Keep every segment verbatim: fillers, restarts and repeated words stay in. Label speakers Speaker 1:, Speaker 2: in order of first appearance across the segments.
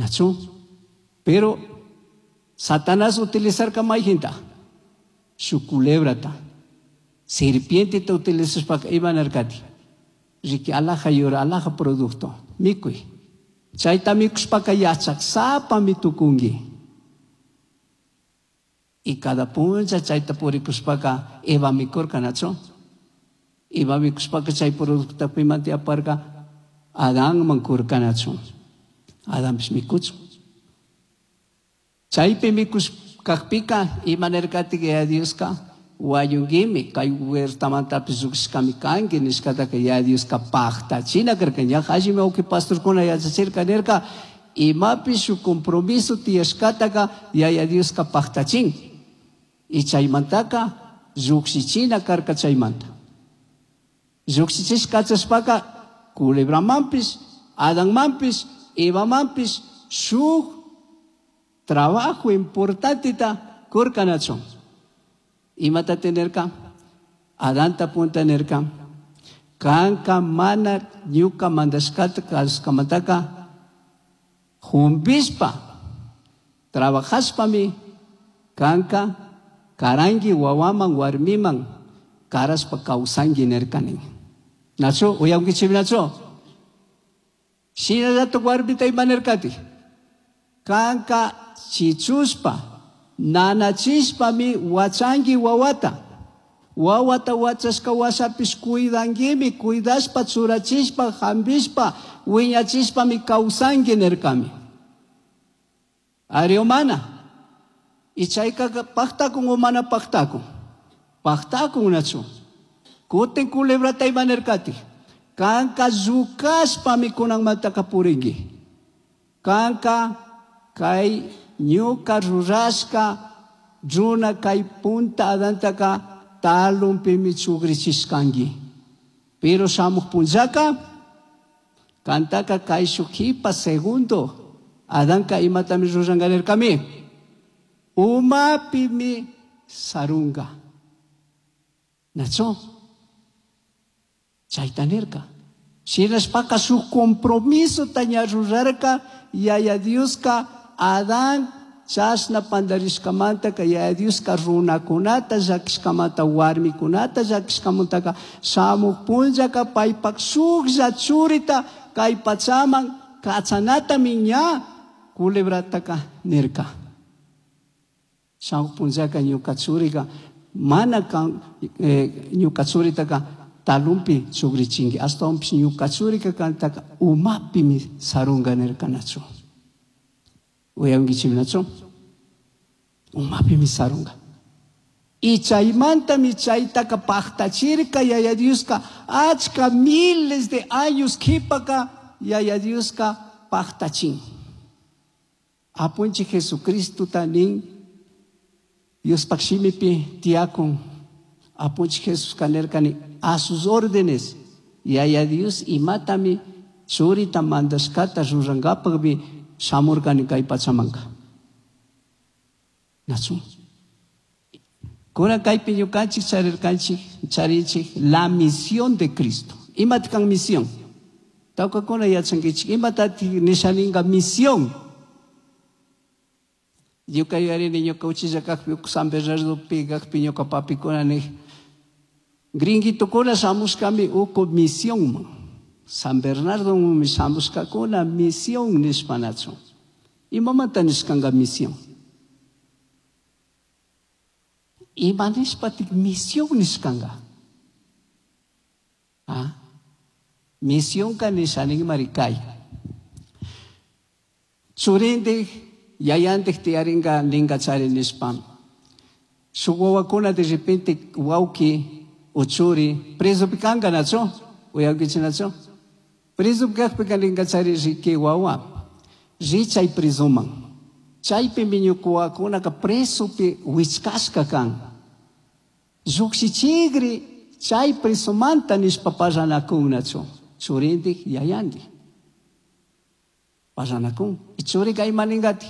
Speaker 1: Nachu? Pero Satanás utilizarka mayhinta? Shuk culebrata. Serpienteta utilizashpaka ima nirkati? Riki alaja yura, alaja producto. Mikuy. Chayta mikushpaka yachaksapami tukunki. Y cada puncha chayta purikushpaka Eva mikurka, nachu? Eva mikushpaka chay producto pimanti aparka Adánman kurka, nachu? Adanpish mikuchun. Chaypi mikushkakpika ima nirkatik Yaya Dioska wañunkimi, kay huertamantapish llukshishkami kanki nishkataka Yaya Dioska paktachina karka. Ña allimi wawki pastorkuna yachachirka nirka imapish shuk compromiso tiyashkataka Yaya Dioska paktachin. Y chaymantaka llukshichina karka chaymanta. Llukshichishka kachashpaka culebramanpish, Adanmanpish, Evamanpish shuk trabajo importanteta kurka nachu. Imata nirka? Adanta punta nirka. Kanka mana ñuka mandashkata kasushkamantaka jumbishpa trabajashpami kanka karanki wawaman warmiman karashpa kawsanki nirka nin. Nachu? Uyankichik nachu? Shinallatak warmita ima nirkati? Kanka chichushpa nanachishpami wachanki wawata. Wawata wachashka washapish cuidankimi, cuidashpa, churachishpa, jambishpa, wiñachishpami kawsanki nirkami. Ari o mana? Y chayka paktakun o mana paktakun? Paktakun nachu. Kutin culebrata ima nirkati? Kanka llukashpami kunanmantaka purinki. Kanka kay ñuka rurashka runa kay punta Adantaka talumpimi chugrichishkanki. Pero shamuj punllaka kantaka kay shuk jipa segundo Adanka imatami ruranka nirkami? Umapimi sarunga. Nachu? Chayta nirka. Shinashpaka shuk compromiso ña rurarka Yaya Dioska Adán chashna pandarishkamantaka Yaya Dioska runakunata llakishkamanta warmikunata llakishkamantaka shamuj punllaka paypak shuklla churita kay pachaman kachanatami ña culebrataka nirka. Shamuj punllaka ñuka churika mana kan, eh, ñuka churitaka talumpi chugrichinki ashtawanpish ñuka churika kantaka umapimi sarunga nirka nachu. Uyankichik nachu? Umapimi sarunga. Y chaymantami chaytaka paktachirka Yaya Dioska achka miles de años kipaka Yaya Dioska paktachin. Apunchik Jesucristo nin Diospak shimipi tiyakun. Apunchik Jesús nirkani a sus órdenes. Yaya Dios imatami churita mandashkata rurankapakmi shamurkani kay pachamanka. Nachu? Kunan kaypi ñukanchik charirkanchik, charinchik la misión de Cristo. Imata kan misión? Tawkakuna yachankichik, imatatik nishaninka misión? Ñuka yuyarini ñuka uchilla kakpi San Bernardopi kakpi ñuka papikuna nih gringuitokuna shamushkami uku misiónman. San Bernardo shamushkakuna misión nishpa nachu. Imamanta nishkanka misión? Ima nishpatik misión nishkanka? Ah? Misiónka nishaninmari kay. Churindik yayandik tiyarinka ninka chari nishpa. Shuk wawakuna de repente wawki o churi presopi kanka nachu? Uyankichik nachu? Presopi kakpika ninka chari riki wawa. Ri chay presoman. Chaypimi ñuka wawakunaka presopi wichkashka kan. Llukshichikri chay presomanta nishpa parlanakun nachu. Churindik yayandik. Parlanakun. Y churika ima ninkati?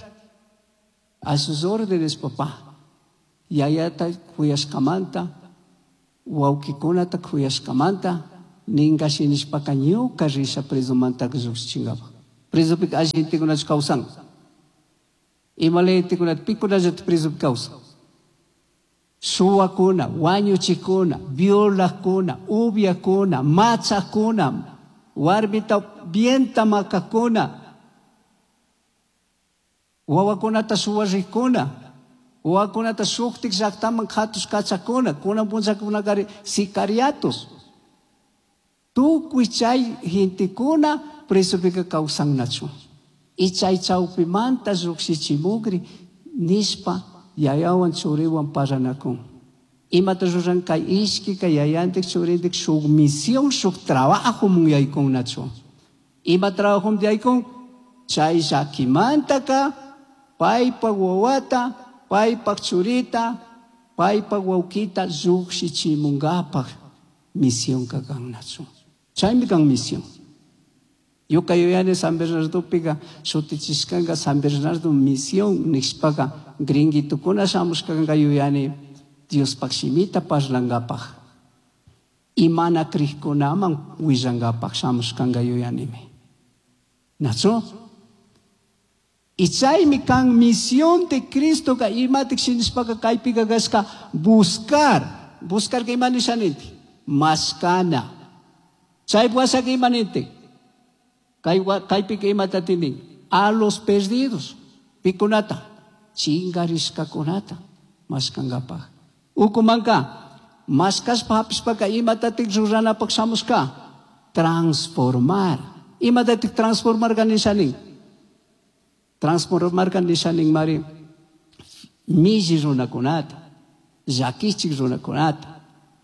Speaker 1: A sus órdenes, papá. Yayata kuyashkamanta, wawkikunata kuyashkamanta, ninka shinishpaka ñuka risha presomanta llukshichinkapa. Presopika alli gentekunach kawsan. Ima gentekunata pikunallata presopi kawsan? Suwakuna, wañuchikuna, violakuna, ubyakuna, machakuna, warmita vienta makakuna, wawakunata suwarikuna, wawakunata shuktik llaktaman katush kachakuna, kunan punllakunakari sicariatos. Tukuy chay gentekuna presopika kawsannachu. Y chay chawpimanta llukshichimukri nishpa yayawan churiwan parlanakun. Imata ruran kay ishkika yayantik churintik shuk misión, shuk trabajo yaykunnachu. Ima trabajo yaykun? Chay llakimantaka paypak wawata, paypak churita, paypak wawkita llukshichimunkapak misión kannachu. Chaymi kan misión. Ñuka yuyani San Bernardopika shutichishkanka San Bernardo misión nishpaka gringuitukuna shamushkanka yuyani Diospak shimita parlankapak. Y mana krikkunaman willankapak shamushkanka yuyanimi. Nachu? Y chaymi kan misión de Cristo ka imatik shinishpaka kaypika kashka buscar. Buscar ka ima nisha ninti? Mashkana. Chay washaka ima ninti? Kaypika imata nin? A los perdidos. Pikunata. Chingarishkakunata mashkankapak. Ukumanka mashkashpa hapishpaka imatatik ruranapak shamushka? Transformar. Imatatik transformar ka nisha nin? Transformar ka nisha nin mari milli runakunata, llakichik runakunata,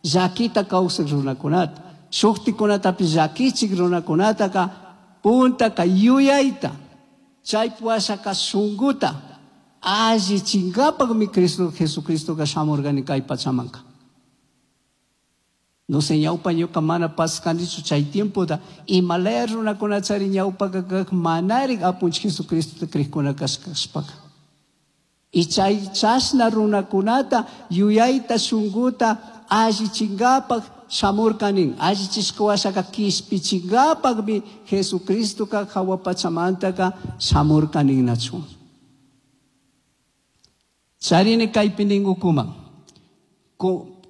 Speaker 1: llakita kawsak runakunata, shuktikunatapish llakichik runakunataka puntaka yuyayta, chay washaka shunkuta allichinkapakmi Cristo Jesucristoka shamurkani kay pachamanka. No sé, ñawpa ñuka mana paskanichu chay tiempota imalaya runakuna chari ñawpaka kak manarik apunchik Jesucristota krikuna kashkashpaka. Y chay chashna runakunata yuyayta shunkuta allichinkapak shamurkanin. Allichishka washaka kishpichinkapakmi Jesucristoka hawa pachamantaka shamurkanin nachu. Charini kaypi nin ukuman.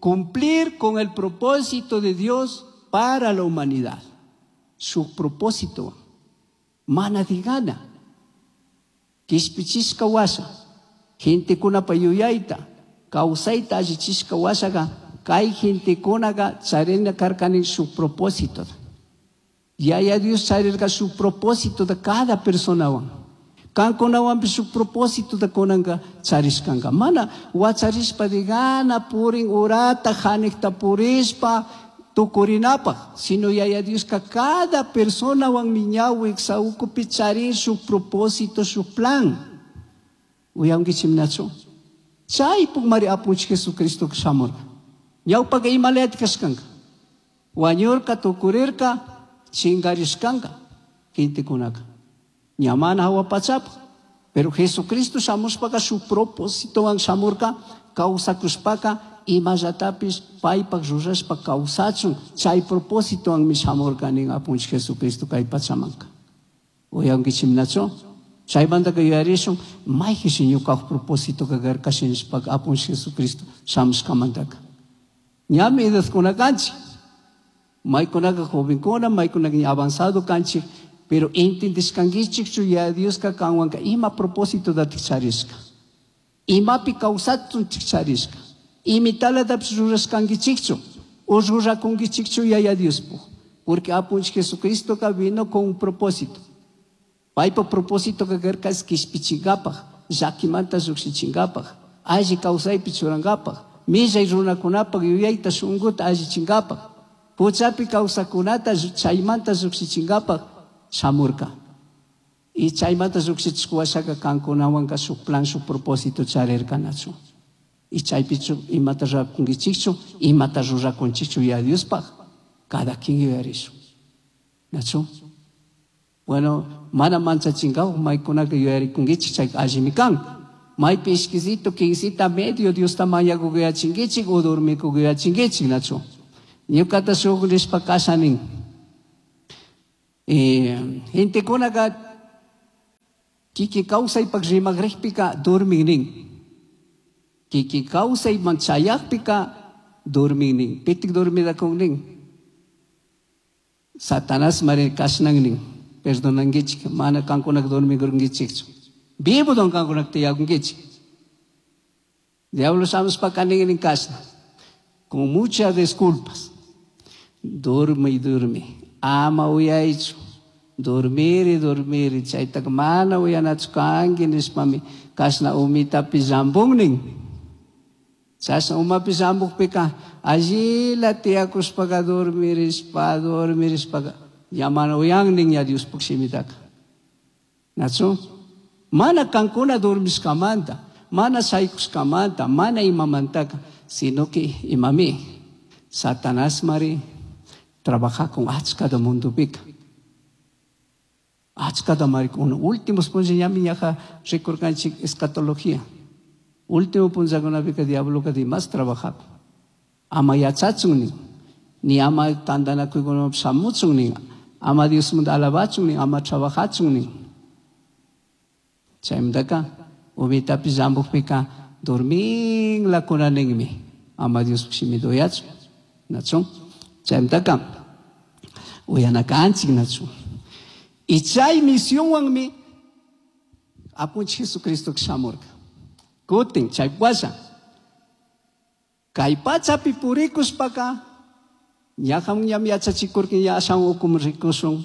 Speaker 1: Cumplir con el propósito de Dios para la humanidad. Su propósito. Mana digana. Kishpichishka washa. Gentekunapa yuyayta. Kawsayta allichishka washaka. Kay gentekunaka charina karkanin su propósito. Yaya Dios charirka su propósito de cada personawan. Kankunawanpish su propósito de kunanka charishkanka. Mana wacharishpa digana purin urata hanikta purishpa tukurinapaj. Sino Yaya Dioska cada personawan miñawik saukupi charin su propósito, su plan. Uyankichimnachu. Chaypuk mari apunchik Jesucristo shamurka. Ñawpaka imalayat kashkanka. Wañurka tukurirka chingarishkanka gentekunaka. Ña mana hawa pachapa. Pero Jesucristo shamushpaka su propósitowan shamurka kawsakushpaka imallatapish paypak rurashpa kawsachun chay propósitowanmi shamurka nin apunchik Jesucristo kay pachamanka. Uyankichimnachu? Chaymantaka yuyarishun mayqishi ñukapak propósitoka karka shinashpaka apunchik Jesucristo shamushkamantaka. Ñami edadkuna kanchik. Maykunaka jovenkuna, maykunaka ña avanzado kanchik. Pero entendishkankichikchu ya Dioska kanwanka ima propósito datik charishka. Imapi kawsachunchik charishka. Imitalatapish rurashkankichikchu. O rurakunkichikchu Yaya Diospuk. Porque apunchik Jesucristoka vino con un propósito. Paypa propósito karka es kishpichinkapak, llakimanta llukshichinkapaj, alli kawsaypi churankapaj, millay runakunapak yuyayta shunkuta allichinkapak, huchapi kawsakunata chaymanta llukshichinkapaj shamurka. Y chaymanta llukshichik washaka kankunawanka shuk plan, shuk propósito charirkanachu. Y chaypichu imata rurakunkichikchu, imata rurakunchikchu ya Diospaj, cada quien yuyarishun. Nachu? Bueno, mana manchachinkapak maykunaka yuyarikunkichik chayka allimi kan. Maypi ishkisito, quincita medio Diosta mañakukuyachinkichik o dormikukuyachinkichik, nachu? Ñukata shuk nishpa kasha nin. Eh, gentekunaka Kikin kawsaypak rimakrikpika durmin nin. Kikin kawsayman chayakpika durmin nin. Pitik dormidakun nin. Satanás mari kashnan nin. Perdonankichik, mana kankunak dormikurunkichikchu. Vivo don kankunak tiyakunkichik. Diablo shamushpaka nin nin kashna. Con muchas disculpas. Durme y durme. Ama uyaychu. Dormir y dormir. Chaytaka mana uyanachu kanki nishpami kashna umitapi llampun. Chashna umapi llampukpika allila tiyakushpaka dormirishpa dormirishpaka ña mana uyan nin ña Diospuk shimitaka. Nachu? Mana kankuna dormishkamanta, mana shaykushkamanta, mana imamantaka, sino que imami Satanás mari trabaja con achkata mundupika. Achkata mari con últimos punlla ñami ñaja rikurkanchik escatología. Último punllakunapika diabloka dimas trabaja. Ama yachachun nin, ni ama tantanakuykunapi shamuchun nin, ama Diosmanta alabachun nin, ama trabajachun nin. Chaymantaka umitapi llampukpika dorminlakuna ninmi, ama Diospuk shimita uyachun, nachun. Chaymantaka uyana kanchik nachun. Y chay misionwanmi Apunchik Jesucristo shamurka. Kutin chay washa. Kay pachapi purikushpaka ñajan ñam yachachikurkin ña ashan ukum rikushun.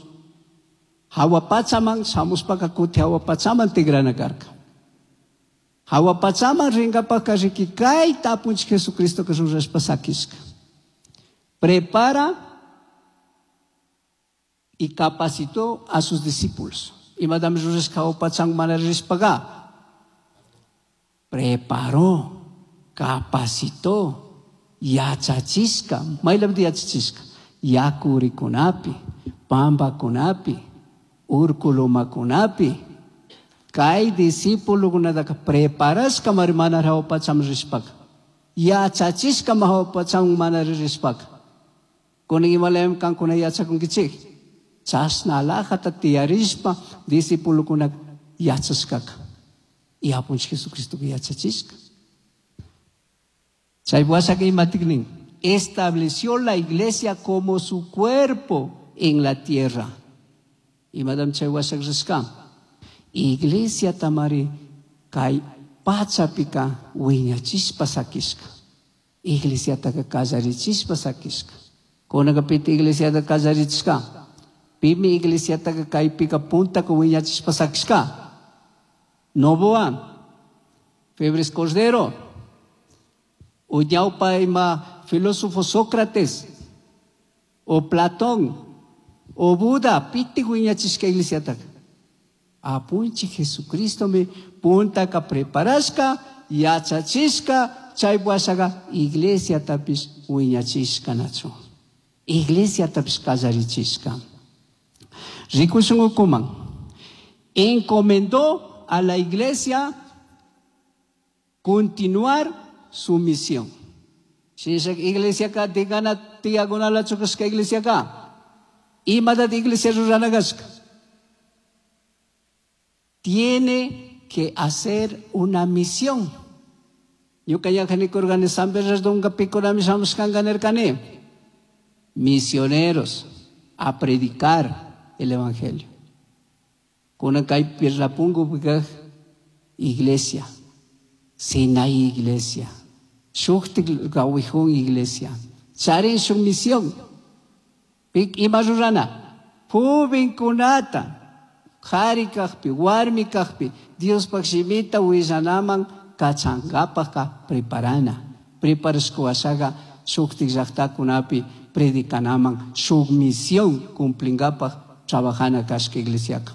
Speaker 1: Hawa pachaman shamushpaka kuti hawa pachaman tigrana karka. Hawa pachaman rinkapaka riki kayta Apunchik Jesucristo rurashpa sakishka. Prepara y capacitó a sus discípulos. Imatami rurashka hawa pachaman mana rishpaka. Preparó, capacitó, yachachishka, maylapita yachachishka, yakurikunapi, pampakunapi, urkulumakunapi, kay discípulokunataka preparashka mari mana hawa pachaman rishpaka, yachachishka hawa pachaman mana rishpaka. Kunan imalayami kankuna yachakunkichik. Chashna alajata tiyarishpa discípulokuna yachashkaka. Y Apunchik Jesucristo yachachishka. Chay washaka imatik nin, estableció la iglesia como su cuerpo en la tierra. Imatam chay washak rishka. Iglesia tamari kay pachapika wiñachishpa sakishka. Iglesiataka kallarichishpa sakishka. Kunanka pita iglesiata kallarichishka. Pimi iglesiataka kaypika puntaka wiñachishpa sakishka. Novoa, Febres Cordero, o ñawpa ima filósofo Sócrates, o Platón, o Buda, piti wiñachishka iglesiataka. Apunchik Jesucristo mi puntaka preparashka, yachachishka, chay washaka iglesiatapish wiñachishka nachu. Iglesiatapish kallarichishka. Rikushun ukuman. Encomendó a la iglesia continuar su misión. Shinashaka iglesiaka tigana tiyakunalachu kashka iglesiaka. Imatata iglesia rurana kashka. Tiene que hacer una misión. Ñuka yachanikurkani San Bernardonka pikunami shamushkanka nirkani. Misioneros a predicar el evangelio. Kunan kay Pirlapungo iglesia. Sinai iglesia. Shuktik gawijun iglesia. Charin shuk misión. Pik ima rurana. Jovenkunata. Qhari kaqpi, warmi kaqpi, Diospaq shimita willanaman kachankapaqqa preparana. Preparashkuwashaqa shuktik llaqtakunapi predicanaman shuk misión cumplinkapaq trabajana kashka iglesiaqa.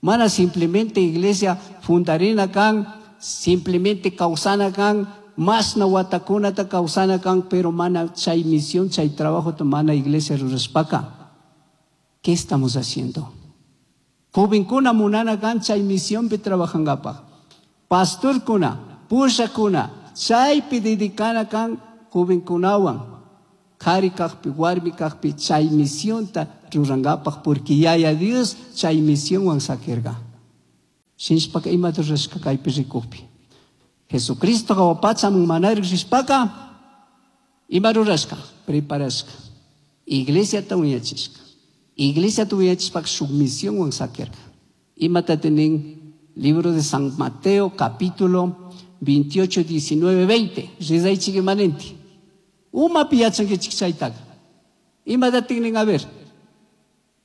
Speaker 1: Mana simplemente iglesia fundarina kan, simplemente kawsana kan, masna watakunata kawsana kan, pero mana chay misión, chay trabajo mana iglesia rurashpaka. ¿Qué estamos haciendo? Jovenkuna munana kan chay misionpi trabajankapaq. Pastorkuna, pushakuna, chaypi dedicana kan jovenkunawan. Qhari kaqpi, warmi kaqpi chay misionta rurankapaq, porque Yaya Dios chay misionwan sakirqa. Shinashpaka imata rurashka kaypi rikukpi. Jesucristo jahua pachaman manaraj rishpaka ima rurashka? Preparashka. Iglesiata wiñachishka. Iglesiata wiñachishpaka shuk misionwan sakirka. Imatata nin libro de San Mateo capítulo veintiocho, diecinueve, veinte. Rizaychik imanenti. Umapi yachankichik chaytaka. Imatatik nin? A ver.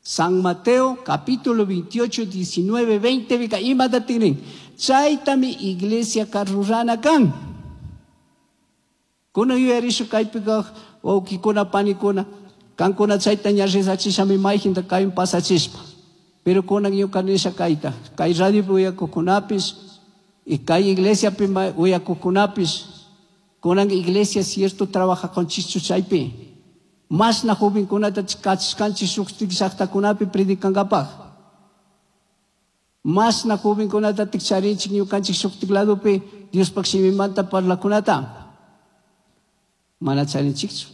Speaker 1: San Mateo capítulo veintiocho, diecinueve, veinte, bika imatatik nin. Chaytami iglesia rurana kan. Kuna yuyarishu kaypika wawkikuna panikuna kankuna chayta ña rizachishami mayjinta kaywan pasachishpa. Pero kunan ñuka nisha kayta kay radiopi uyakuqkunapish y kay iglesiapi uyakuqkunapish kunan iglesia cierto trabajakunchikchu chaypi. Mashna jovenkunata kachishkanchik shuk llaqtakunapi predicankapaj. Mashna jovenkunata charinchik ñukanchik shuktik ladopi Diospaj shimimanta parlakunata. Mana charinchikchu.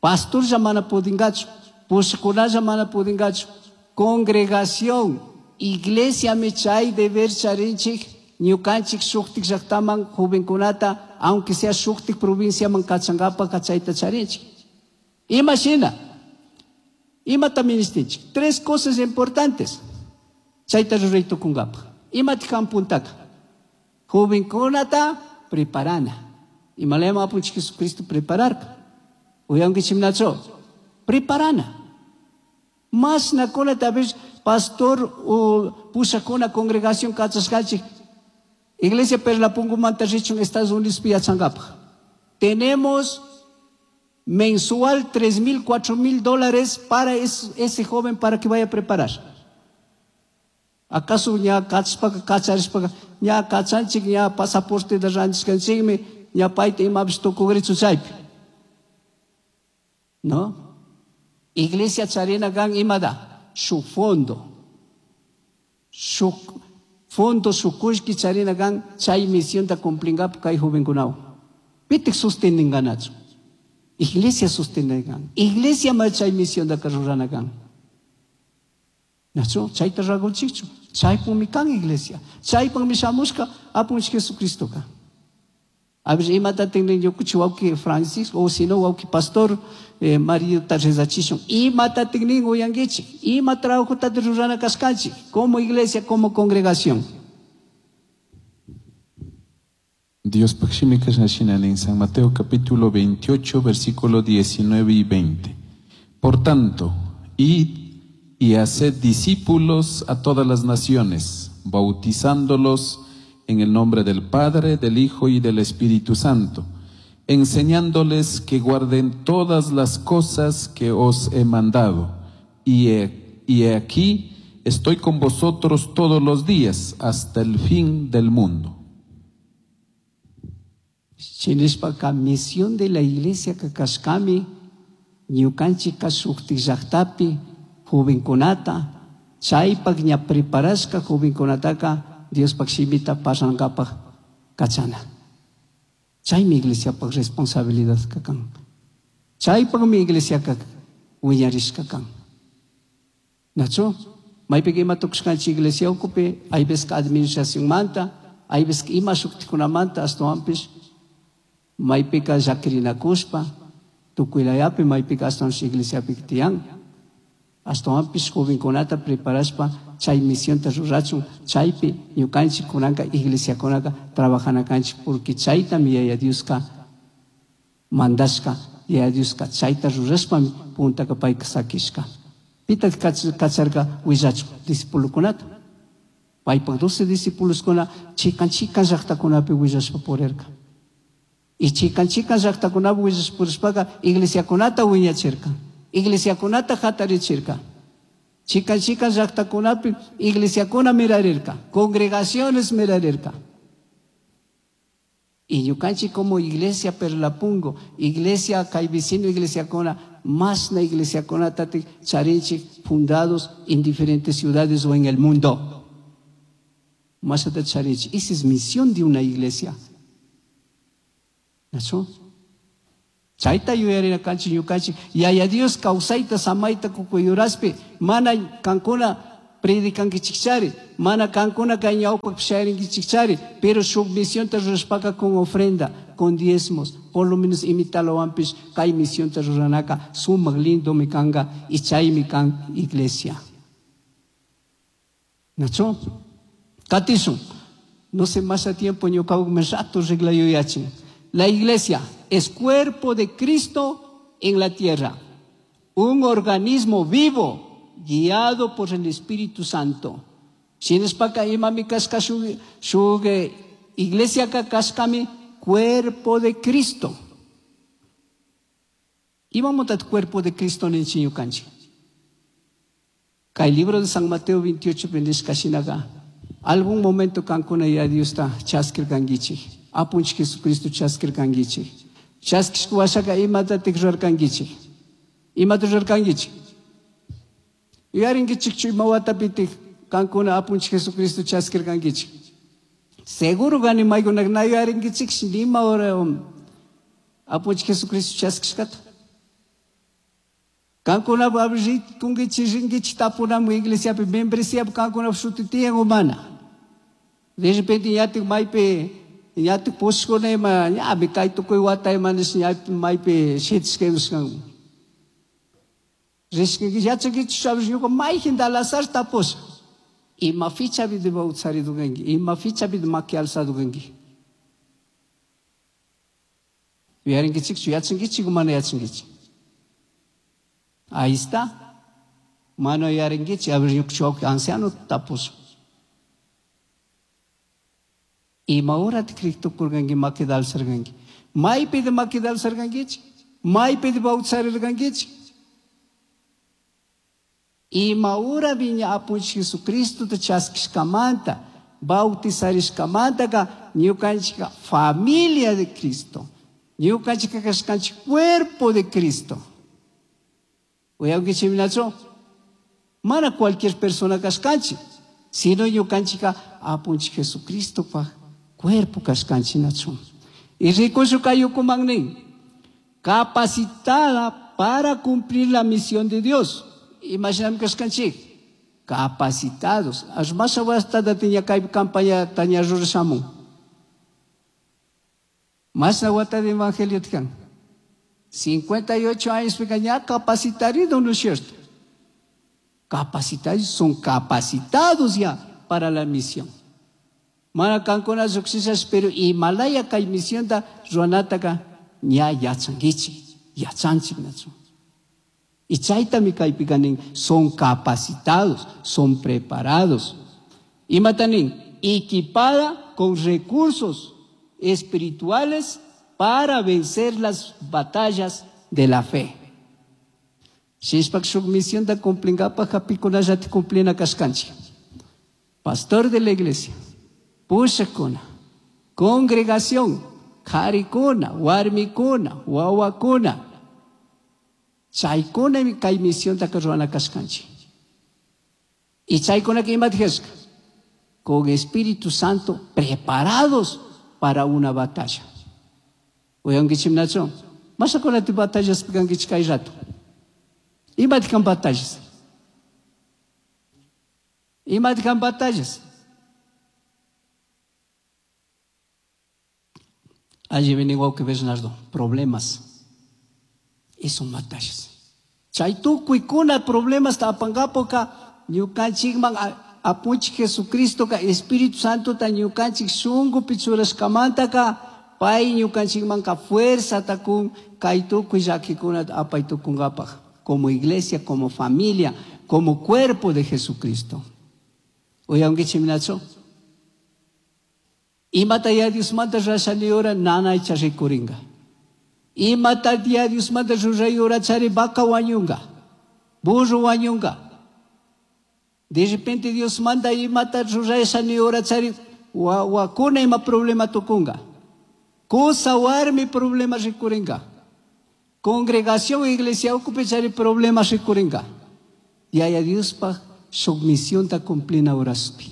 Speaker 1: Pastorlla mana pudingachu, pushkunalla mana pudingachu. Congregación, iglesia mi chay deber charinchik ñukanchik shuktik llaqtaman jovenkunata, aunque sea shuktik provinciaman kachangapa kachayta charinchik. Imagina, imata ministinchik. Tres cosas importantes. Chayta ruray tukunkapa. Imata kan puntaka. Jovenkunata preparana. Imalema apunchik Jesucristo prepararka. Uyankichimnacho. Preparana. Mas nakunata a pastor o pushakuna congregación kachashkanchik. Iglesia Perlapungumanta richun Estados Unidos piyachankapa. Tenemos mensual tres mil, cuatro mil dólares para es, ese joven para que vaya a preparar. ¿Acaso ña kachpaka, kacharishpaka, ña kachanchik, ña pasaporte de ranchishkanchikmi, ña payta imapish tukugrichu chaypi? ¿No? Iglesia charina kan imada, su fondo. Su fondo, su kushki charina kan, chay misión ta cumplingap kay jovenkunao. Pitik sosteninganachu. Iglesia sosteningan. Iglesia ma chay misión da karurana kan. Nacho, chayta ragunchikchu. Chaypumi kan iglesia. Chaypumi shamushka apunchik Jesucristo ka. A ver, imata tingnin ñukuchi wawki Francisco, o si no wawki pastor eh, Mario rezachishun. Imata tingnin uyankichik. Ima trabajota rurana kashkanchik. Como iglesia, como congregación.
Speaker 2: Dios pakshimi kashna en San Mateo capítulo veintiocho, versículo diecinueve y veinte. Por tanto, id y haced discípulos a todas las naciones, bautizándolos en el nombre del Padre, del Hijo y del Espíritu Santo, enseñándoles que guarden todas las cosas que os he mandado. Y he, y he aquí estoy con vosotros todos los días hasta el fin del mundo.
Speaker 1: Chinishpaka misión de la iglesia kashkami ñukanchik shuktik llaqtapi jovenkunata chaypak ña preparashka jovenkunataka Diospaq shimita parlankapak kachana. Chaymi iglesiapaq responsabilidad kakan. Chaypaqmi iglesiaka wiñarishka kan. Nacho, maypika ima tukushkanchik iglesia ukupi, hay veces ka administracionmanta, hay veces ka ima shuktikunamanta ashtawanpish maypika llakirinakushpa, tukuylayapi maypika ashtawanpish iglesiapi tiyan. Ashtawanpish jovenkunata preparashpa chay misionta rurachun, chaypi ñukanchik kunanka iglesiakunaka trabajanakanchik, porque chaytami Yaya Dioska mandashka, Yaya Dioska chayta rurashpami puntaka payka sakishka. Pitaq kacharka willachun discipulukunata. Paypak doce discípuloskuna chikan chikan llaqtakunapi willashpa purirka. Y chikan chikan llaqtakunapi willashpa purishpaka iglesiakunata wiñachirka. Iglesiakunata hatarichirka. Chikan chikan llaqtakunapi iglesiakuna mirarirka, congregaciones mirarirka. Y ñukanchik como iglesia Perlapungo, iglesia kay vecino iglesiakuna, masna iglesiakuna tatik charinchik fundados en diferentes ciudades o en el mundo. Masna charinchik. Esa es misión de una iglesia. ¿Nacho? Chayta yuyarina kanchik ñukanchik Yaya Dios kawsayta samayta kukuyuraspi mana kankuna predicankichikchari, mana kankuna kay ñawpaqpi shayarinkichikchari, pero shuk misionta rurashpaka con ofrenda, con diezmos, por lo menos imitalawanpish kay misionta ruranaka sumaq lindomi kanka y chaymi kan iglesia. Nacho? Katishun. No sé más a tiempo ñuqawmi rato reglayuyachin. La iglesia es cuerpo de Cristo en la tierra, un organismo vivo guiado por el Espíritu Santo. Shinashpaka imami kashka shuk, shuk iglesia ka kashkami cuerpo de Cristo. Imamantat cuerpo de Cristo ninchik ñukanchik? Kay libro de San Mateo veintiocho nishka shinaka algún momento kankuna ya Diosta chaskirkankichik, apunchik Jesucristo chaskirkankichik. Chaskishka washaka imatatik rurarkankichik? Imata rurarkankichik? Yuyarinkichikchu ima watapitik kankuna apunchik Jesucristo chaskirkankichik? Seguro gani maykunak na yuyarinkichikshi nima hora apunchik Jesucristo chaskishkata. Kankuna rikunkichik rinkichik tapunamu iglesiapi membresíapi kankuna shuti tiyan o mana. De repente ñatik maypi ñatik pushkuna ima ñami kay tukuy wata ima nish ñapi maypi shitishka imashkan. Rishkanki yachankichik sabes ñuka mayjin al azar tapusha. Ima fichapi de bautizaridukanki, ima fichapi de maki alzadukanki. Yuyarinkichikchu yachankichik o mana yachankichik? Ahí está. Mano yuyarinkichik, a ver ñuka anciano tapusha. Ima horat kriktukurkanki makita alzarkanki. Maypi de makita alzarkankichik? Maypi de bautizarirkankichik? Ima hora viña apunchik Jesucristo chaskishkamanta, bautizarishkamantaka ñukanchika familia de Cristo. Ñukanchika kashkanchik cuerpo de Cristo. Uyankichik minachu? Mana cualquier persona kashkanchik, sino ñukanchika apunchik Jesucristo pa cuerpo kashkanchik nachu. Y rikushu kayukuman nin, capacitada para cumplir la misión de Dios. Imaginam kashkanchik, capacitados. Ashmasha wastada tiña kay campaña taña rurashamun. Masna wata de evangelio tikan. cincuenta y ocho años ya capacitarido, ¿no es cierto? Capacitados, son capacitados ya para la misión. Mana kankuna lluqsishas, pero imalaya kay misionta ruwanataka ña yachankichik, yachanchik nachu. Y chaytami kaypika nin, son capacitados, son preparados. Imata nin, equipada con recursos espirituales para vencer las batallas de la fe. Shishpak shuk misionta cumplinkapaj hapikunallata cumplina kashkanchik. Pastor de la iglesia, pushakuna, congregación, karikuna, warmikuna, wawakuna. Chaykunami kay misionta ruwana kashkanchik. Y chaykunaka imata kashka? Con Espíritu Santo preparados para una batalla. Uyankichik nachu? Mashakunati batallas pikankichik kay rato. Imata kan batallas? Imata kan batallas? Allí viene igual que Bernardo, problemas. Y son batallas. Chay tukuykuna problemas tapangapoka ñukanchikman apunchik Jesucristo ka Espíritu Santo ta ñukanchik shunkupi churashkamantaka pay ñukanchikman ka fuerza takun kay tukuy llakikuna apay tukunkapaj como iglesia, como familia, como cuerpo de Jesucristo. Uyankichik minachu? Imata ya Diosmanta rashani ora nanaycha rikurinka. Imata ya Diosmanta ruray ora chari vaca wañunga, burro wañunga. De repente Dios manda imata rurashani ora chari wakuna ima problema tukunga. Cosa warmi problema rikuringa. Congregación iglesia ocupe chari problema rikuringa. Yaya Diospaj shuk misionta cumplina horaspi.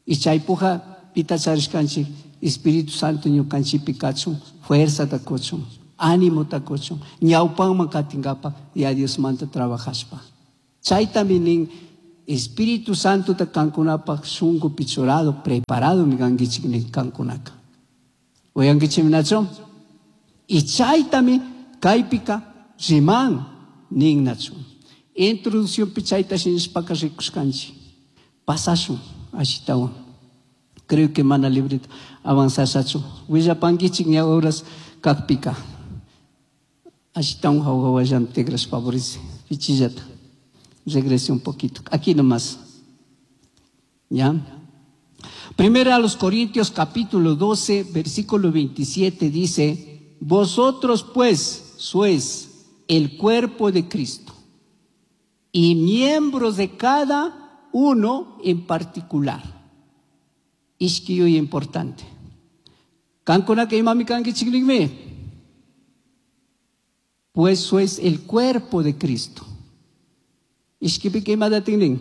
Speaker 1: Y chaypuja pita charishkanchik Espíritu Santo ñukanchikpi kachun, fuerza ta kuchun, ánimo ta kuchun, ñawpanman katingapa ya Diosmanta trabajashpa. Chaytami nin Espíritu Santo ta kankunapaj shunkupi churado, preparado mi kankichik nin kankunaka. Uyankichik nachu? Y chaytami kaypika riman nin nachu. Introducción chayta shinashpaka rikushkanchik. Pasashun ashitawan. Creo que mana librito avanzashachu. Willapankichik ña horas kakpika. Ashitawan hawawallan tigras favorece. Pichillata. Regrese un poquito. Aquí nomás. ¿Ya? Primero a los Corintios capítulo doce, versículo veintisiete dice, vosotros pues sois el cuerpo de Cristo y miembros de cada uno en particular. Ishki importante. Kankunaka imami kankichik nikmi. Pues sois el cuerpo de Cristo. Ishkipika imatatik nin.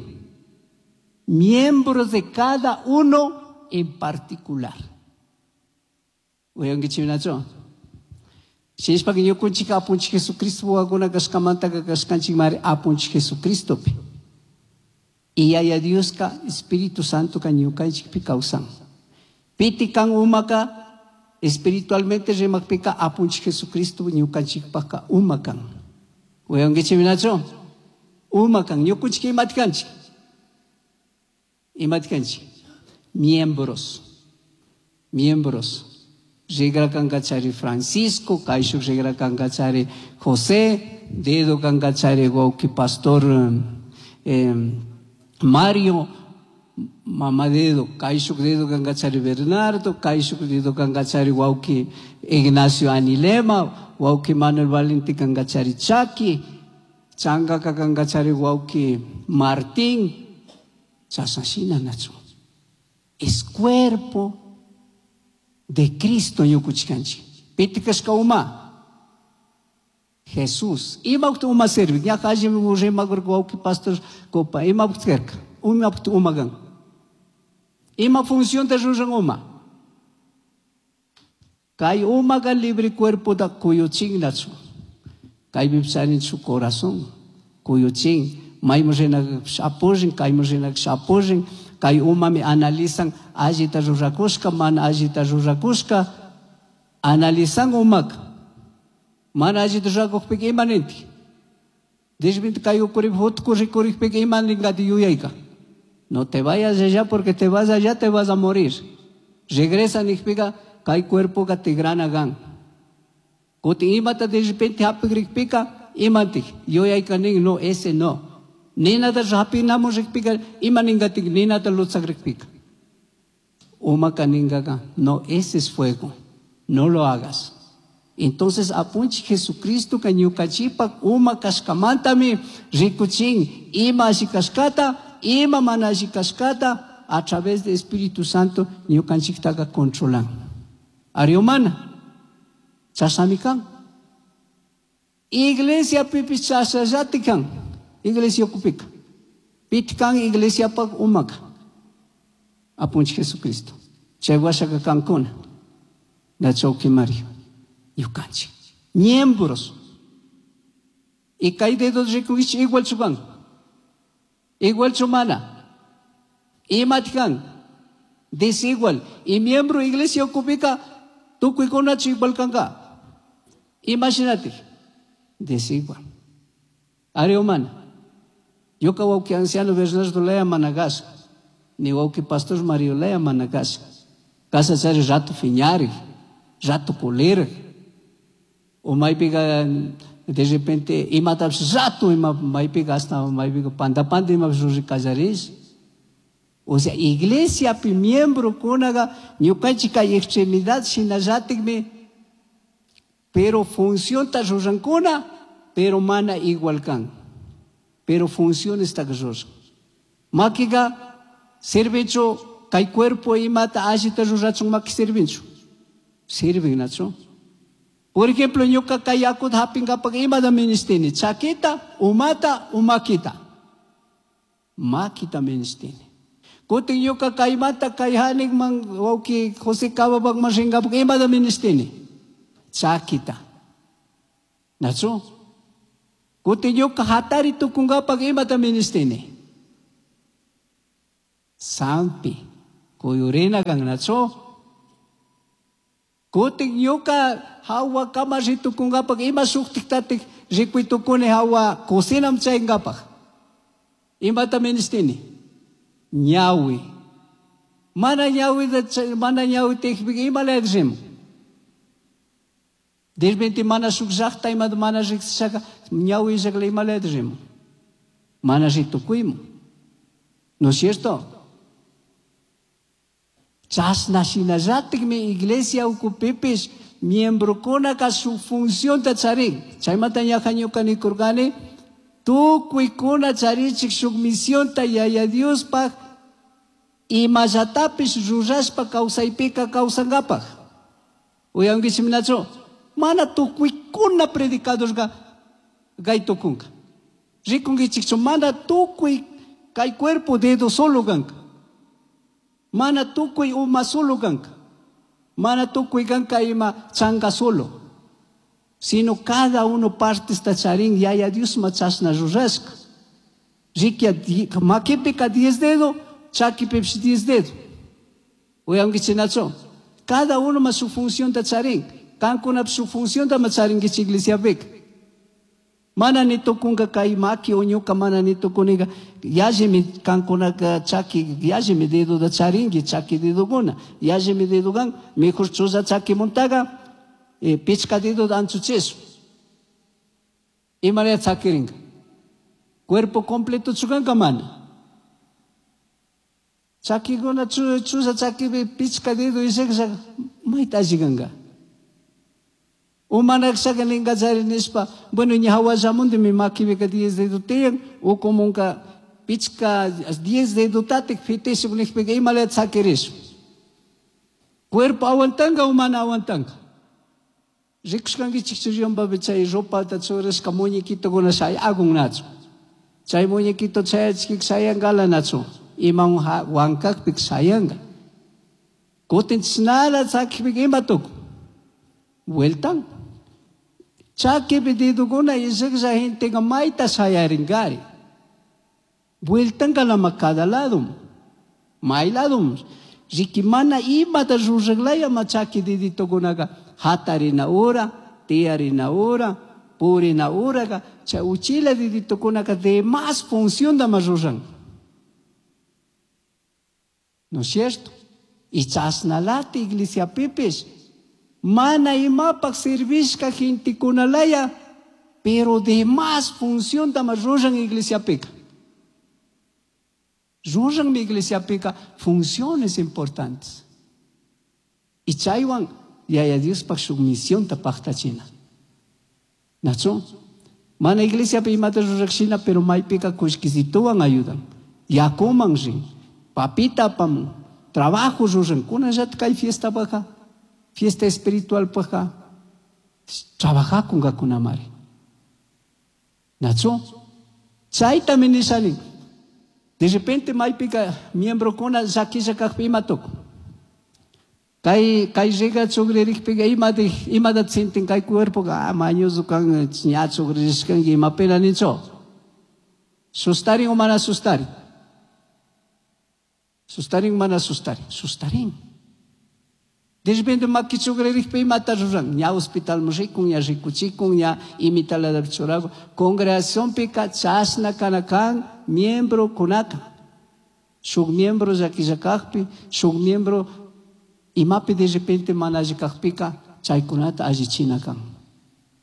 Speaker 1: Miembros de cada uno en particular. Uyankichik nachu. Shinashpaka ñukunchik apunchik Jesucristo wawakuna kashkamantaka kashkanchik mari apunchik Jesucristopi. Y Yaya Dioska Espíritu Santo ka ñukanchikpi kawsan. Piti kan umaka espiritualmente rimakpika apunchik Jesucristo ñukanchikpaka uma kan. Uyankichik nachu. Uma kan ñukunchik imati kanchik. Imati kanchik. Miembros. Miembros. Rigra kankachari Francisco, kayshuk rigra kankachari José, dedo kankachari wawki pastor eh, Mario, mama dedo, kayshuk dedo kankachari Bernardo, kayshuk dedo kankachari wawki Ignacio Anilema, wawki Manuel Valente kankachari Chaki, changaka kankachari wawki Martín, chasashina nachu. Es cuerpo de Cristo ñukuchkanchik. Piti kashka uma? Jesús. Imapaq uma sirve. Ña alli rimakurka wawki pastor kopa. Imapaq karka? Imapaq uma kan? Ima función ta ruran uma? Kay umaka libre cuerpo ta kuyuchin nachu. Kaypi charin su corazón. Kuyuchin. Mayman rinaka apurin, kayman rinaka apurin. Kay umami analizan allita rurakushka, mana allita rurakushka, analizan umaka. Mana allita rurakukpika ima nintik. De repente kay ukurip hutku rikurikpika ima ninkati yuyayka. No te vayas allá porque te vas allá te vas a morir. Regresa nikpika kay cuerpo ka tigrana gan. Kutin imata de repente hapikrikpika imantik. Yuyayka nin no, ese no. Ninata hapinamun rikpika ima ninkatik ninata lutzakrikpika. Umaka ninkaka, no, ese es fuego. No lo hagas. Entonces apunchik Jesucristo ka ñukachipak uma kashkamantami rikuchin ima alli kashkata, ima mana alli kashkata a través de Espíritu Santo ñukanchiktaka controlan. Ari humana. Chasami kan. Iglesia pipi chasallati kan. Iglesia kupika. Pitkan iglesia pak umaka. Apunchik Jesucristo. Chay washaka kankuna. Nachauki Mario. Ñukanchik. Miembros. Y kay dedos rikunkichik igual chukan. Igual chumana. Imatkan. Desigual. Y miembro iglesia kupika tukuykunachu igual kanka. Imagínate. Desigual. Ari humana. Ñuka wawki anciano Bernardo Lea managasha. Ni wawki pastor Mario Lea managasha. Casa chari rato fiñari, rato kulira. O maypiqa de repente imatapish rato ima maypiqa hasta maypiqa panda panda imapish ruri kallarish. O sea, iglesia pi miembro kunaqa ñukanchik kay extremidad shinallatikmi, pero funcionta rurankuna, pero mana igual kan. Pero funciones ta ruran. Makiqa sirvinchu kay cuerpo imata allita rurachun maki sirvinchu. Sirvin nachu. Por ejemplo, ñuka kay yakuta hapinkapak imata ministini, chakita, umata, umakita. Makita ministini. Kutin ñuka kaymanta kay hanikman wawki José Cababakman rinkapak imata ministini, chakita. Nachu? Kutin ñuka hatari tukunkapak imata ministini, Sampi kuyurina kannachu. Kutin ñuka hawa kama ritukunkapak ima shuktiktatik rikuytukuni hawa cocinam chaynkapak. Imata ministini? Ñawi. Mana ñawita mana ñawi tikpika imalaya rimun. De repente mana shuk llaqta imata mana riqsishaka ñawi illakla imalaya rimun. Mana ritukuymun. ¿No es cierto? Chashna shinallatikmi iglesia ukupipis miembrocunaka su funcionta charin. Chaymanta ñaja ñuka nikurkani tukuykuna charichik shuk misionta Yaya Diospaj imallatapish rurashpa kawsaypika kawsankapaj. Uyankichikminachu? Mana tukuykuna predicadorqa gaytukunka. Rikunkichikchu mana tukuy kay cuerpo dedo solo kanka. Mana tukuy uma solo kanka. Mana tukuy kanka ima changa solo. Sino cada uno parte esta charin Yaya Dios machasna rurashka. Rikia makipika diez dedo, chakipipish diez dedo. Uyankichinachu? Cada uno ma su función ta charin. Kankunap su función ta macharinkichik iglesiapika. Mana ni tukunka kay maki o ñuka mana ni tukuniga yallimi kankunaka chaki yallimi dedo da charinki chaki dedokuna yallimi dedo kan mejor chulla chakimuntaga eh, pichka dedo da anchuchisu. Imalaya chakirinka. Cuerpo completo chukanka mana. Chakikuna chulla chakipi pichka dedo ishakshaka mayta allikanka. Umanakshaka ninkachari nishpa, bueno, ña hawallamuntimi makipika diez dedo tiyan, ukumunka pichka diez dedotatik fitishuk nijpika imalaya chakirish. Cuerpo aguantanka o mana aguantanka. Rikushkankichik churiyonpapi chay ropata churashka muñequitokuna shayakunnachu. Chay muñequito chayachikik shayankalanachu. Imawan wankakpik shayanka. Kutin chishnala chakikpika ima tukun. Vueltan. Chakipi dedokuna ishaklla genteka mayta shayarinkari. Vueltanka lama cada lado. May lado. Riki mana imata ruraklaya ma chaki deditokunaka hatarina hora, tiyarina hora, purina horaka, chay uchila deditokunaka de más función da más ruran. ¿No es cierto? Y chasnalati iglesia pipis. Mana imapak servishka gentekunalaya, pero de más función da más ruran iglesia pica. Ruran mi iglesia pica funciones importantes. Y chaywan Yaya Diospaj shuk misionta paktachina. ¿Nachu? Mana iglesia pi imata rurakshina, pero maypika kushkisituwan ayudan. Yakuman rin, papita apamun, trabajo ruran. Kunallat kay fiesta paja, fiesta espiritual paja, trabajakungakunamari. ¿Nachu? Chayta minishanin. De repente maypika miembro kuna llakisha kajpi ima tukun. Kay kay riga chugririkpika imata imata sintin kay cuerpo ah mañoso kan ña chugririshkanki ima pena nincho. Sustarin o mana sustarin. Sustarin mana sustarin. Sustarin. De repente maki chugririkpi imata ruran. Ña hospital rikun, ña rikuchikun, ña imitala churago. Congregacionpika chashna kanakan miembro kunaka. Shuk miembro llakillakajpi, shuk miembro imapi de repente mana allikajpika chaykunata allichina kan.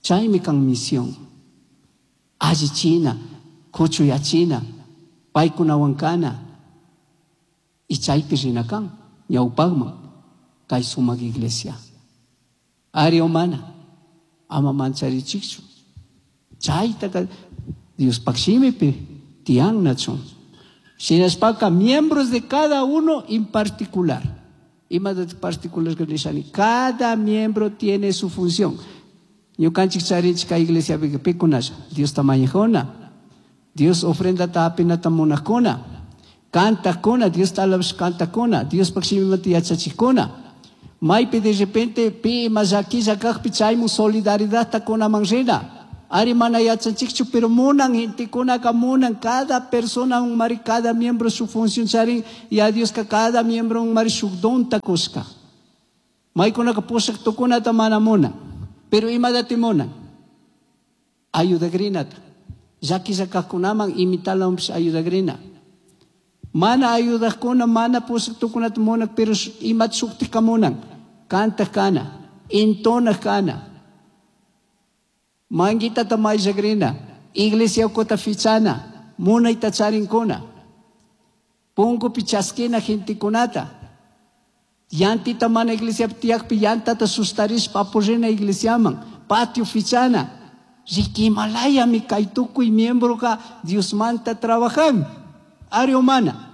Speaker 1: Chaymi kan misión. Allichina, kuchuyachina, paykunawan kana. Y chaypi rina kan, ñawpaqman kay sumak iglesia. Ari umana, ama mancharichikchu. Chaytaka Diospaq shimipi tiyannachu. Shinashpaka miembros de cada uno en particular. Ima de particular que nishani. Cada miembro tiene su función. Ñukanchik charinchik kay iglesia pikunasha. Dios tamañajona. Dios ofrenda tapinata munajkuna. Cantakuna, Dios talabash cantakuna. Dios pakshimimanta yachachikuna. Maypi de repente pi ima llakilla kajpi chaymun solidaridadta kunaman rina. Ari mana yachanchikchu, pero munan gentekunaka munan cada persona mari cada miembro su función charin Yaya Dioska cada miembro mari shuk donta kushka. Maykunaka pushak tukunata mana munan, pero imadati munan? Ayudagrinata. Llakilla kajkunaman imitalawanpish ayudagrina. Mana ayudajkuna, mana pushak tukunata munan, pero imata shuktika munan. Kantaj kana, entonaj kana. Manguitata mayllagrina, iglesia ukhuta fichana, munayta charinkuna. Punkupi chaskina gentekunata. Llantita mana iglesiapi tiyakpi llantata sustarishpa apurina iglesiaman, patio fichana. Riquimalayami kay tukuy miembroka Diosmanta trabajan. Ari o mana.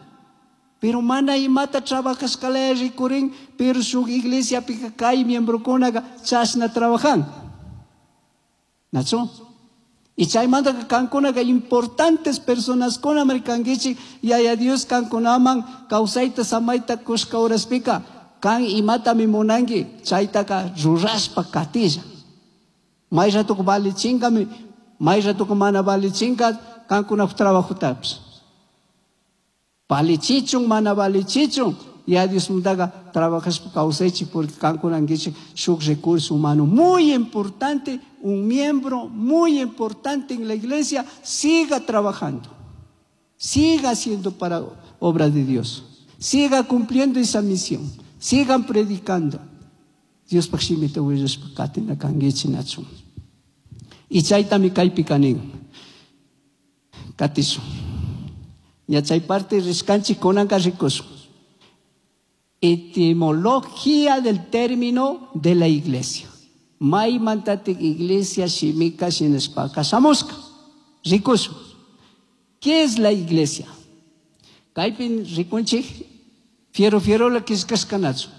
Speaker 1: Pero mana imata trabajashkalaya rikurin, pero shuk iglesiapika kay miembrokunaka chashna trabajan. Nachu? Y chaymantaka kankunaka importantes personaskuna kankichik, Yaya Dios kankunaman kawsayta samayta kushka horaspika, kan imatami munanki, chaytaka rurashpa katilla. May ratuka valichinkami, may ratuka mana valichinka, kankunap trabajotapish. Valichichun, mana valichichun, Yaya Diosmantaka trabajashpa kawsaychik, porque kankunankichik shuk recurso humano muy importante, un miembro muy importante en la iglesia, siga trabajando, siga haciendo para obra de Dios, siga cumpliendo esa misión, sigan predicando. Diospaj shimita willashpa katina kankichik nachun. Y chaytami kaypi kanin. Katishun. Ña chay parte rishkanchik kunanka rikushun. Etimología del término de la iglesia. Maymantatik iglesia shimika shinashpaka shamushka. Rikushun. ¿Qué es la iglesia? Kaypin rikunchik fiero fiero la kishkashkanachu.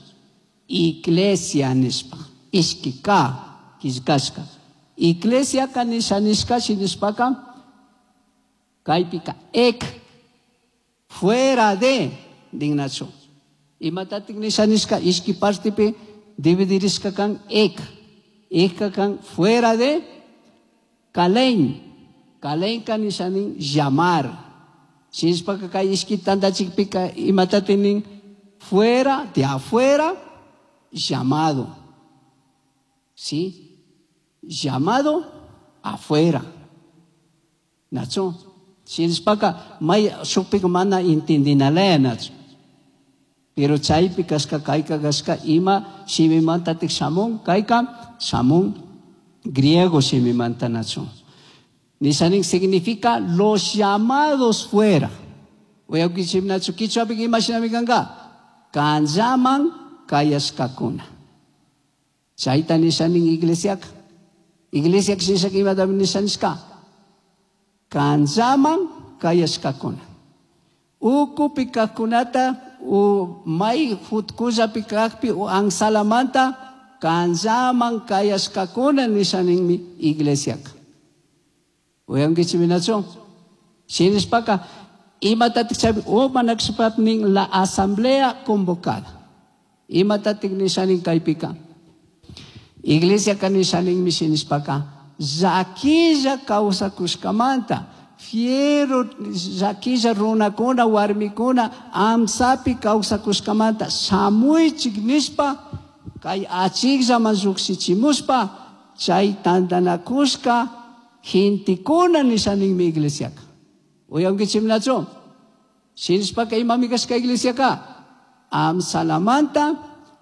Speaker 1: Iglesia nishpa. Ishki ka kishkashka. Iglesia ka nisha nishka shinashpaka kaypika ek fuera de dignachu. Imatatik nisha nishka ishki partipi dividirishka kan ek. Ek kan fuera de kalein. Kalein ka nisha nin llamar. Shinashpaka kay ishki tandachikpika imatatinin fuera de afuera llamado. ¿Sí? Llamado afuera. Nacho. Shinashpaka may shukpika mana intendinalaya nacho. Pero chaypi kashka kayka kashka ima shimimantatik shamun kayka shamun griego shimimanta nacho. Nishanin significa los llamados fuera. Uyakichim nacho kichwapi ima shinami kanka. Kanllaman kayashkakuna. Chayta nishanin iglesiaka. Iglesia shinashaka imata nishanishka. Kanllaman kayashkakuna. Ukupi kajkunata u may jutkullapi kajpi u ansalamanta kanllaman kayashkakuna nishaninmi iglesiaka. Uyankichik nacho. Shinashpaka imatatik chaypi u manakshpapnin la asamblea convocada. Imatatik nishanin kaypika. Iglesia ka nishaninmi shinashpaka llakilla kawsakushkamanta fiero llakilla runakuna warmikuna amsapi kawsakushkamanta shamuychik nishpa kay achikllaman llukshichimushpa chay tantanakushka gentekuna nishaninmi iglesiaka. Uyankichik nacho. Shinashpaka imami kashka iglesiaka amsalamanta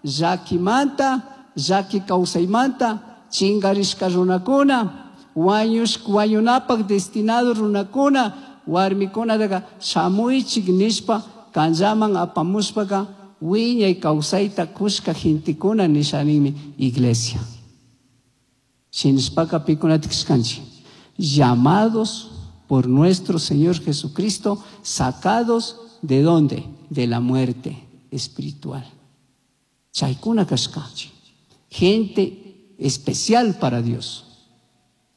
Speaker 1: llakimanta llaki kawsaymanta chinkarishka runakuna wañush wañunapak destinado runakuna warmikunataka shamuychik nishpa kanllaman apamushpaka wiñay kawsayta kushka gentekuna nishaninmi iglesia. Shinashpaka pikunatik kashkanchik llamados por nuestro Señor Jesucristo, sacados de dónde? De la muerte espiritual. Chaykuna kashkanchik. Gente especial para Dios.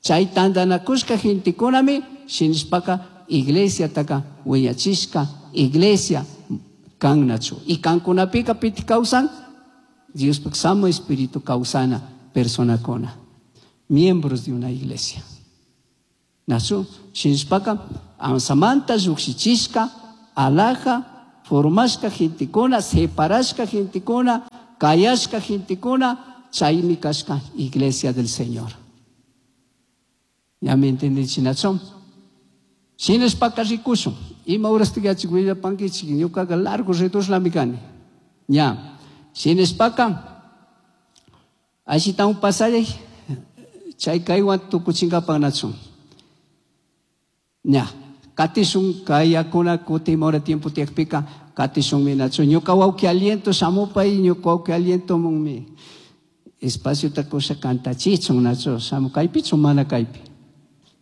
Speaker 1: Chay tantanakushka gentekunami shinashpaka iglesia taka wiñachishka iglesia kannachu. Y kankunapika piti kawsan Diospak samo espíritu kawsana personakuna. Miembros de una iglesia. Nachu shinashpaka amsamanta llukshichishka alhaja formashka gentekuna separashka gentekuna kayashka gentekuna chaymi kashka iglesia del Señor. Ya me entendí, nachu? Shinashpaka rikushun. Ima horastik yachik willapankichik ñukaqa largo ridushlami kani. Ña. Shinashpaka ashitawan pasallay chay kaywan tukuchinkapak nachu. Ña. Katishun kayakuna kutin mora tiempo tiyakpika katishunmi nachu. Ñuka wawki aliento shamupay ñuka wawki aliento munmi espaciota kusha kantachichun nachu. Shamu kaypichu mana kaypi.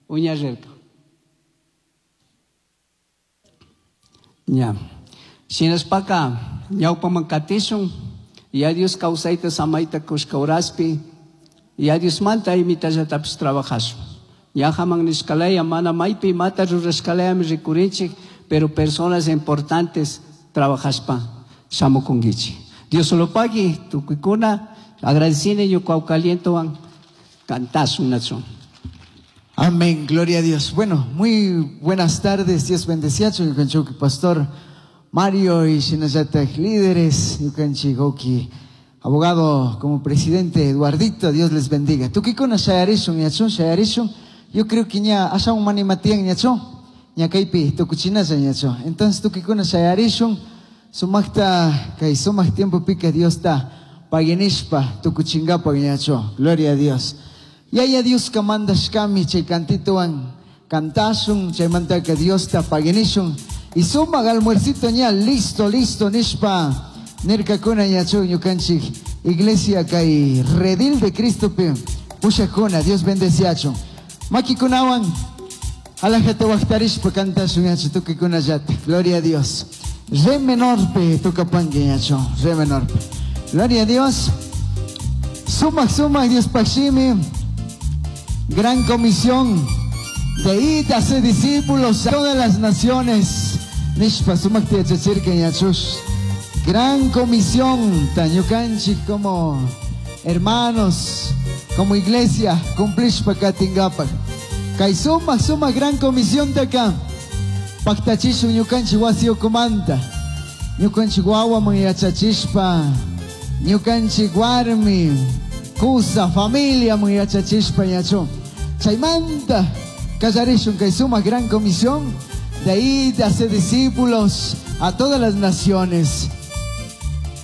Speaker 1: Uña rirka. Ña. Shinashpaka ñawpaman katishun ya Dios kawsayta samayta kushka uraspi ya Diosmanta imitallatapish trabajashun. Ñajaman nishkalaya mana maypi imata rurashkalayami rikurinchik, pero personas importantes trabajashpa shamukunkichik. Dios solo pagui tukuykuna agradecine ñuka wawka cantashun nachu.
Speaker 3: Amén, gloria a Dios. Bueno, muy buenas tardes, Dios bendeciacho, ñukanchik pastor Mario y shinallatak líderes, ñukanchik wawki abogado como presidente Eduardito, Dios les bendiga. Tukikuna shayarishun, ñachun, shayarishun. Yo creo que ña ashawan manimatian ñachun, ña kaypi tukuchinalla ñachun. Entonces tukikuna shayarishun, sumakta kay sumak tiempo pika Dios ta paginishpa tukuchingapa ñachun. Gloria a Dios. Yaya Dios kamandashkami chay cantitowan cantashun, chaymantaka Dios ta paginishun. Y sumak almuercito ña listo, listo nishpa nirkakuna ñachun ñukanchik iglesia kay redil de Cristo pe pushakuna, Dios bendeciachun. Makikunawan alajata waqtarishpa cantashun ñachu tukikunallata. Gloria a Dios. Re menor pe tukapanki ñachu, re menor pe. Gloria a Dios. Sumak sumak Dios pashimi. Gran comisión de ir a hacer discípulos a todas las naciones. Nishpa sumak tiyachachirka ñachush. Gran comisión, tañukanchik como hermanos, como iglesia, cumplishpa katingapak. Kay suma, suma gran comisión de acá. Pactachishun ñukanchik wasi ukumanta. Ñukanchik wawaman yachachishpa. Ñukanchik warmi, kusa, familia man yachachishpa ñachu. Chaymanta kallarishun kay suma gran comisión de ir a hacer discípulos a todas las naciones.